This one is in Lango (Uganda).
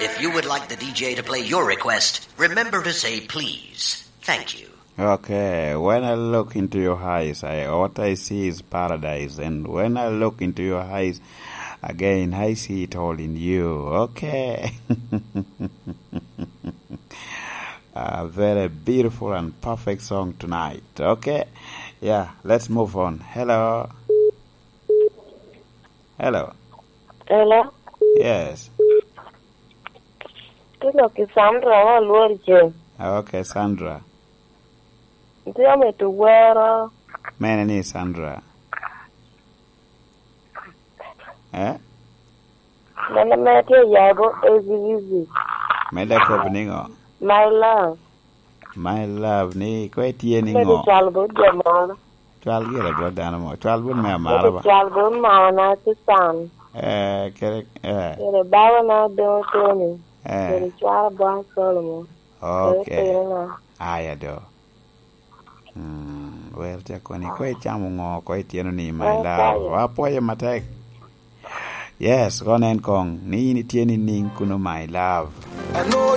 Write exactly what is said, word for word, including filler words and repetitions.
If you would like the D J to play your request, remember to say please. Thank you. Okay, when I look into your eyes, I, what I see is paradise. And when I look into your eyes again, I see it all in you. Okay. A very beautiful and perfect song tonight. Okay. Yeah, let's move on. Hello. Hello. Hello? Yes. Tye lok i Sandra, wa Lwor Ceng. Okay, Sandra. Tye amito wero. Mene ni Sandra? Eh? Mene me tye yabo easy easy. Mede kop niŋo? My love. My love ni ko itye niŋo? Cwal bot jo moro. Cwal gire bot dano mo. Cwal bot me amara ba. Cwal bot mama na Susan. Eh, kere, eh. Kere baba na Doŋo Tony. Eh. Kere cwal bot Solomon. Okay. Kere tino na. Aya do. Mm, wer ca koni, ko icamo ŋo, ko ityeno ni, my love? Apwoyo. Apwoyo matek. Yes, kono en koŋ, ni in itye ni niŋ kuno, my love.